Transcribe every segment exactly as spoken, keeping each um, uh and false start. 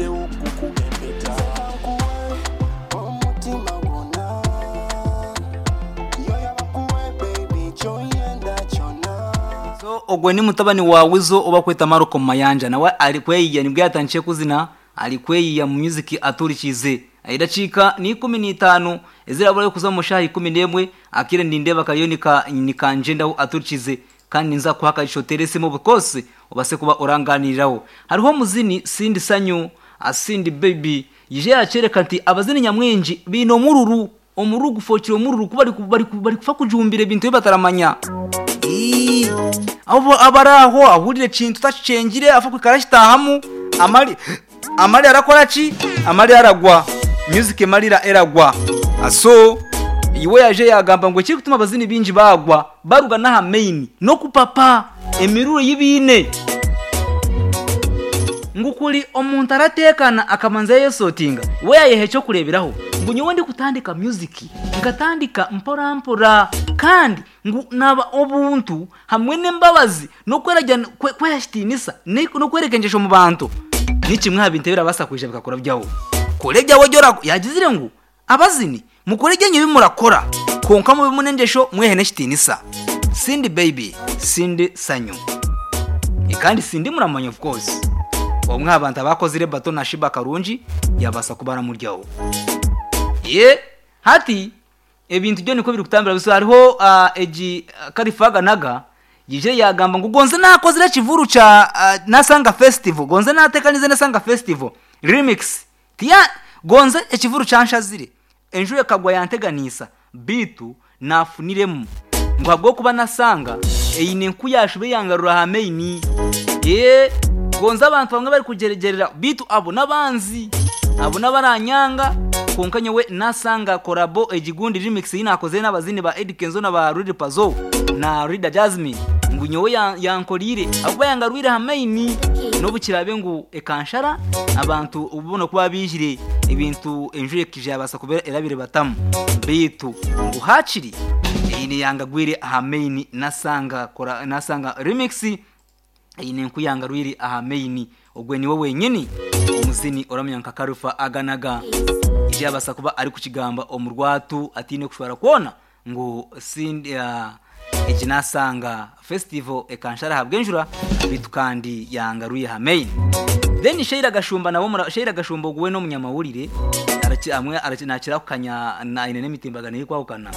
Nsigaddewo kukuba empeta. Nkuwe omutima gwonna, yoyo bakuwe baby kyoyenda kyonna. So ogwe ni mutabani wa Wizo oba kweta Marco Mayanja, nawe ari kweyiya nibwo yatangiye kuzina, ari kweyiya mu music aturikize. Idakika ni ikumi n'itaano ezirabura kuza mu shaha ikumi n'emwe, akire ndindeba kariyo nika nikanjendaho aturikize, kandi nza kuha akagisho teresimo bukose obase kuba oranganiriraho. Hariho muzini Cindy Sanyu, Cindy Baby yije yacereka nti abazini nyamwingi bino mururu omururu gufokira omururu kuba bari bari bari kufa kujumbira ebintu bataramanya. Ii, abo abaraho ahurire kintu tacengire afa kwikara kitahamu amali amali arakora ki amali aragwa music malira eragwa. Aso iwe yaje yagamba ngo kiri kutuma abazini bingi bagwa baruga naha main no kupapa emiruru yibine ngukuri omuntu aratekana akamanza yesotinga we yayehe cyo kureberaho ngo nyowe ndi kutandika music ngatandika mpora mpora kandi ngu naba obuntu hamwe n'embabazi no kwerajya kweyashitinisa no kwerekenjesho mu bantu nikimwe habintebera basakwije bikakora byawo kore byawo jora yagizire ngu abazini mukore genye bimurakora konka mu bimunenjesho mwehe neshitinisa. Cindy Baby, Cindy Sanyu. E kandi Cindy muramanya of course. Omwe abantu abakozire bato na Shiba Karungi yabasa kubara muryawo. Ye hati ebintu byo niko biri kutambira biso hariho uh, eji uh, Karifaga naga yije yagamba ngo gonze nakozire kivuru cha uh, Nasanga Festival, gonze natekanize Nasanga Festival remix tiya gonze ekivuru chanshazire enjure kagwa yanteganisa bitu nafuniremu ngo habwo kuba nasanga eyine nkuyashube yangarura hameini. Ye gonze abantu bamwe bari kugeregerera bitu abo nabanzi abo nabaranyanga konka nyewe nasanga korabo egigundi remix yinakoze n'abazini ba Eddy Kenzo na ba Rudy Pazo na Rida Jasmine ngo nyewe yankorire abo yangarwire hameini nobukirabe ngu ekanshara abantu ubona kuba bijire ibintu enjure kije yabasa kubera erabire batamu bitu ngo hakiri eyine yangagwire hameini nasanga kora nasanga remix eyine nkuyangarwire ahameini ogwe niwe wenyini omuzini oramya nka Karufa aganaga ije yabasa kuba ari kukigamba omurwatu atine kushwara kuona ngo Cindy uh, eji nasanga festival ekanshara habwenjura bitu kandi yangaruye hameini. Then Sheila Gashumba nabo mura Sheila Gashumba guwe no munyamawurire araci amwe araci nakira kukanya na ine nemitimbagano iri kwahukana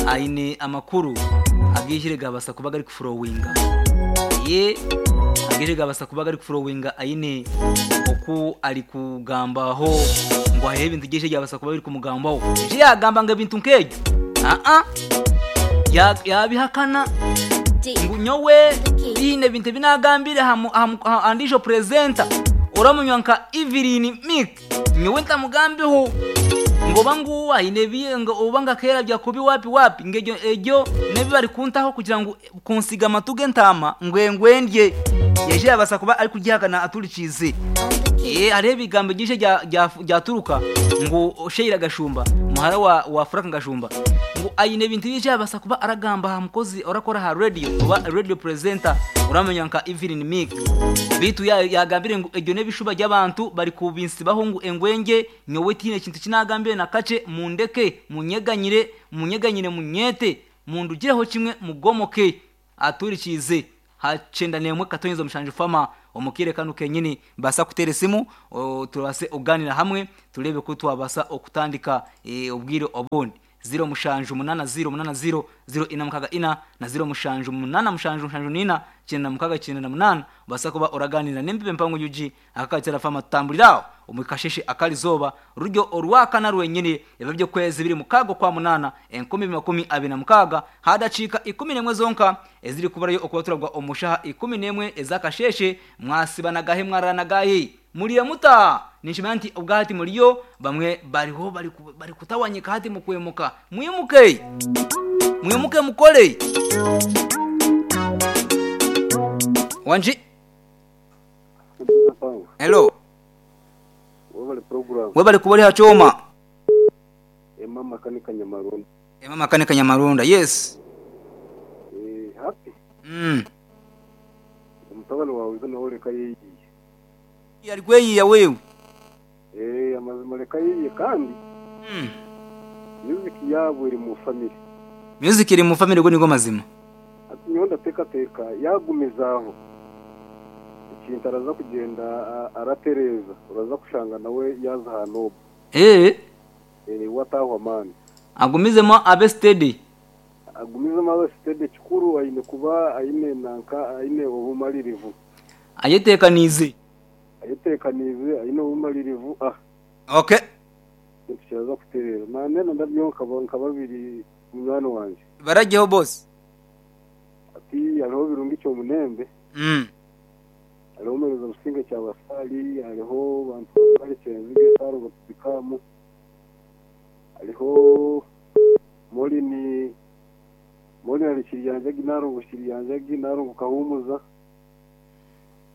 aine amakuru agishire gabasa kuba gari kufurowinga ye agishire gabasa kuba gari kufurowinga aine oku ari kugambaho ngo hariho ibintu byinshi byabasa kuba biri kumugambaho je yagamba ngo ibintu nkejo a a yabihakana ngo nyowe bine bintu binagambire andisho presenter uramunywa nka Evelyn Mick nyowe ntamugambiho ngo banguwa ine ngo ubanga kera bya kubi wapi wapi ngejo ejo nebi bari kuntaho kugira ngo kunsiga amatuge ntama ngwengwendye yeje yabasa kuba ari kugihakana aturikize. Eh hariho ibigambo byinshi byaturuka ngo Sheila Gashumba muhara wa wa Frank Gashumba ngo ayine bintu byinshi yabasa kuba aragamba ha mukozi orakora ha radio oba radio presenter uramenya nka Evelyn Mick bitu yagambire ngo ejo nebishuba by'abantu bari kubinsibaho ngo engwenge nyowe tine kintu kinagambire na kace mundeke munyeganyire munyeganyire munyete mundugireho kimwe mugomoke aturikize hacenda nemwe katonyezo mushanje fama omukire kanu kenyini basa kutere simu turabase oganira hamwe turebe ko twabasa okutandika e, obwire obundi zero mushanju munana zero munana zero zero ina mukaga ina na zero mushanju munana mushanju mushanju nina cyenda mukaga cyenda na munana basa kuba oraganira nembibe mpango yuji akakatera fama tutambulirao umukasheshe akalizoba rujyo orwaka na rwenyine ebyo kwezi biri mukago kwa munana enkumi makumi abiri na mukaga hadacika ikumi nemwe zonka eziri kubarayo okubaturagwa omushaha ikumi nemwe ezakasheshe mwasibanagahe mwaranagahe muriye muta nishimana nti ubwahati muriyo bamwe bariho bari bari kutawanyika hati mukwemuka mwimuke mwimuke mukole wanji. Hello Webale program. Webale kubali hachoma. Ema makanika Nyamarunda. Ema makanika Nyamarunda. Yes. Eh happy. Mm. Mutagano wawe zana oleka yeyi. Yari kweyi ya wewe. Bamureka yiye kandi Mm. music yabo iri mu family. Music iri mu family go nigo mazima. Ati nyowe ndateekateeka yagumizaho ekintu araza kugenda a- aratereza uraza kushanga nawe yaza hanobu Eh, watahwa mani agumizemo abe steady. Agumizemo abe steady. Kikuru aine kuba aine nanka aine obumalirivu. Ayetekanize. Ayetekanize aine obumalirivu ah. Okay. Ekintu kiraza kuterera nanena ndabyo nkaba nka babiri munywani wanje. Barajeho boss. Ati hariho birungi kyomunembe. Mm. Hariho mereza businga kya basali, hariho bantu bari kyenzige saro batubikamu, hariho molini molini ari kiryanja ginaro kiryanja ginaro kahumuza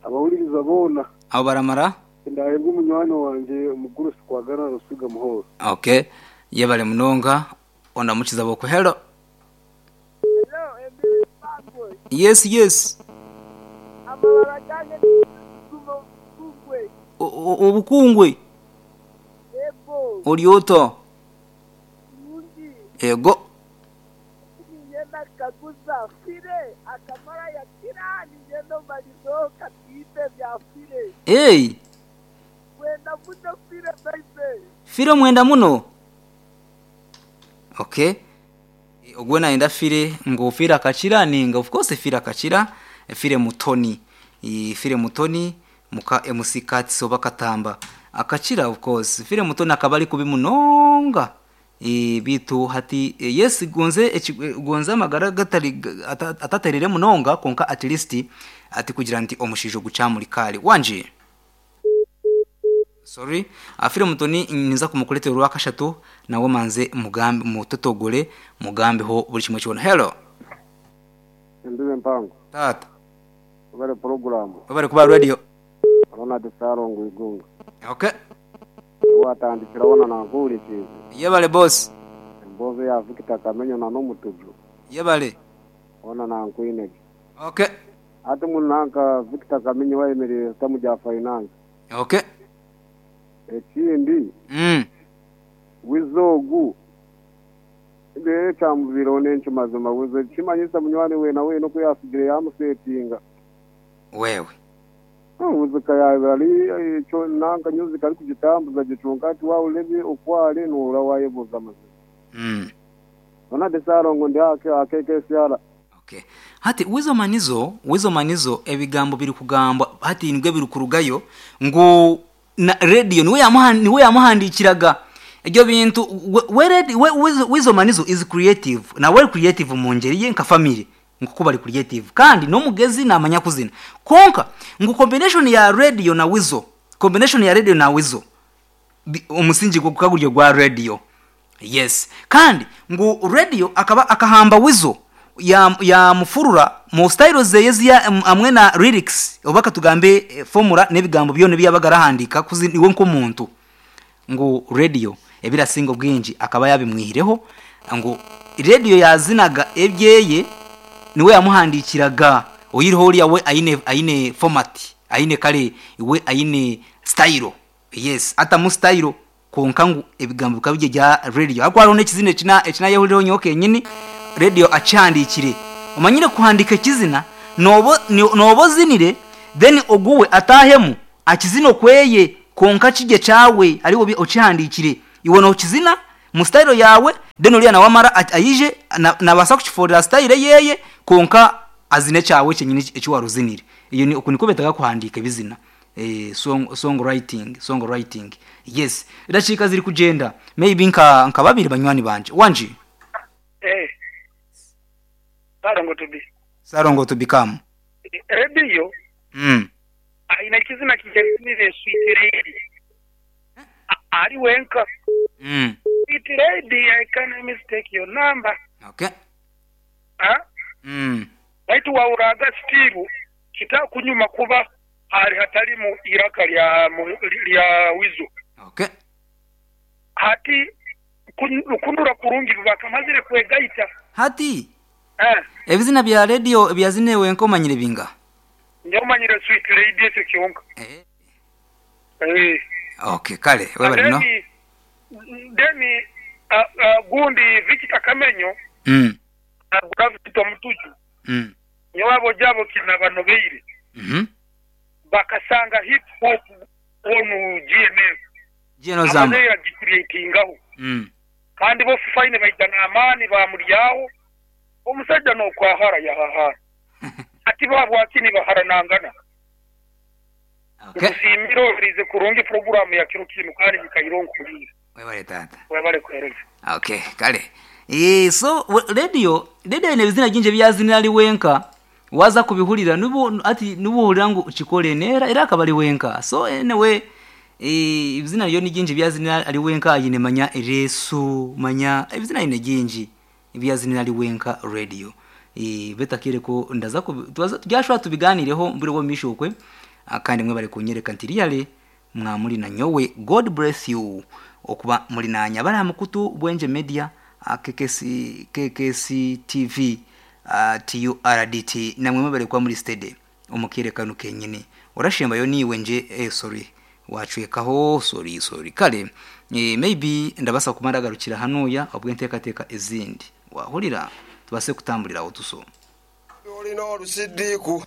abahuririza bona. Abo baramara. Ndahebwa umunywani wanje umugurusi kwagana rusiga muhoro. Okay. Yebale munonga ondamukiza boko. Hello. Hello, Emily Pangwe. Yes, yes. Amabara gange kuno kungwe. Obukungwe. Ego. Olyoto. Mungi. Ego. Niyenda kaguza fire akamara ya kira niyenda malizo katite vya fire. Hey. Mwenda muno fire baby. Fire mwenda muno. Okay. Ogwe naenda fire ngo fire akachira ninga of course fire akachira fire mutoni. I fire mutoni muka M C Kats obakatamba akachira of course fire mutoni akabali kubi munonga. E bitu hati e, yes gonze e, gonze amagara gatari ataterere munonga konka at least ati kugira nti omushijo gucamuri kali wanje. Sorry, afire mutoni niza kumukuletera urwakashatu nawe manze mugambe mutotogole mugambe ho buri kimwe cyona. Hello. Ndiwe mpango. Tata. Bari program. Bari kuba radio. Ronald Sarongo igunga. Okay. Watandikira wona nanguri chizi. Yebale boss. Mbozo ya Victor Kamenyo na no mutuju. Yebale. Ona nankuine. Okay. Ati munanka Victor Kamenyo wayemereye tamuja finance. Okay. Ekindi mm wizogu ndere chamuviro nencho mazima wizo chimanyisa munywani we nawe no kuyasigire yamusetinga wewe muzika yawe ali cho nanka music ali kujitambuza gichunga ati waulebe okwale nora wayebuza mazima mm ona desarongo ndi ake akeke syara. Okay. Hati wizo manizo wizo manizo ebigambo biri kugambwa hati nibwe biri kurugayo ngo na radio niwe yamuhan niwe yamuhandikiraga ibyo bintu we we wizo manizo is creative na we creative mu ngeri ye nka family nkuko bari creative kandi no mugezi namanya kuzina konka ngo combination ya radio na wizo combination ya radio na wizo umusingi go kaguryo gwa radio. Yes, kandi ngo radio akaba akahamba wizo ya ya mufurura mu style zeye amwe na lyrics obaka tugambe formula nebigambo byo nibiyabagarahandika kuzi iwe nko muntu ngo radio ebirasingo bwinji akaba yabimwihireho ngo radio yazinaga ebyeye niwe yamuhandikiraga oyiriho uriya we aine aine format aine kale iwe aine style. Yes, ata mu style konka ngo ebigambo kabije ja radio akwaro nekizine kina ekina yehuriro nyoke nyini radio achandikire umanyire kuhandika kizina nobo nobo zinire then oguwe atahemu akizino kweye konka kije cawe ariwo ochihandikire iwe no kizina mu style yawe then uriya na wamara ayije nabasa kuchiforera style yeye konka azine cawe cyenyine ekiwaruzinire. Iyo ni ukunikobetaga kuhandika bizina eh song song writing song writing. Yes, idachika ziri kugenda maybe nka nka babiri banywani banje wanje eh Sarongo to be. Sarongo to become. Radio. Mm. Aina kizina kijasimire sweet lady. Ali wenka. Mm. Sweet lady, I can mistake your number. Okay. Ah? Mm. Baitu wauraga stiru kita kunyuma kuba hari hatari mu iraka lya lya wizo. Okay. Hati kundura kurungi bakamazire kwegaita. Hati. Eh. Ebizina bya radio byazinewe nkomanyire binga. Nyomanyire sweet lady ekyo kyonka. Eh. Eh. Okay, kale webale no. Then uh, uh, gundi Victor Kamenyo Mm. agura Victor Mutuju Mm. nyewabo jabo kina banobeire Mhm. bakasanga hip hop onu G M F Gino zamba. amaze yagicreatingaho Mm. kandi bo fine baitana amani bamuryaho omusajja nokwahara yahahara ati babwakini baharanangana. Okay. Kusimira orize kurungi programu ya kiro kinu kandi bikaironkulira. Webale tata. Webale kuhereza. Okay, kale. Eh so we- radio radio ine bizina ginje byazinira ali wenka waza kubihulira nubu ati nubuhulira ngu chikole nera era akabali wenka. So anyway eh ibizina yo ni ginje byazinira ali wenka ayine manya eresu manya ibizina ine ginji byazinira ali wenka radio. Eh betakire ko ndaza ko tubyashwa tubiganireho mbure wo mishokwe kandi mwe bari kunyereka nti really mwamuli na nyowe. God bless you okuba muli nanya bali mukutu Bwenje Media K K C, K K C T V uh, T U R D T namwe mwebale kwa muri stede omukirekano kenyine orashemba yo niwe nje eh, sorry wacwekaho sorry sorry kale eh, maybe ndabasa kumara garukira hanoya obwe ntekateka ezindi wahulira tubase kutambulira otuso olina olusidiku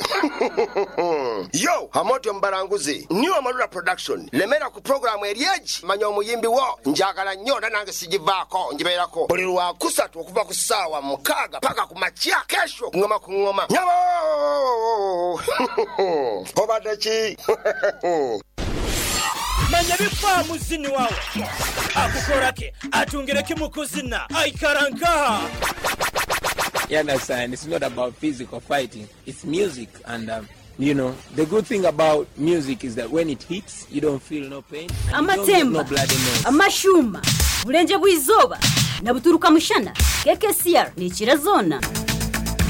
yo hamoti omubalanguzi new Amarula Production lemera ku programu eryeji manya omuyimbi wo njagala nnyo era nange sigivaako ngibeerako buli lwakusatu okuva ku ssaawa mukaaga paka ku makya kesho ngoma ku ngoma nyabo obadde ki manya bifa muzini wawe akukorake atungireke mukuzina aikarankaha. You understand? It's not about physical fighting. It's music. And, um, you know, the good thing about music is that when it hits, you don't feel no pain. And you don't get no Amatemba, bloody nose. amashuma, bulenje bw'izoba na buturuka mushana. K K C R ni kirazona.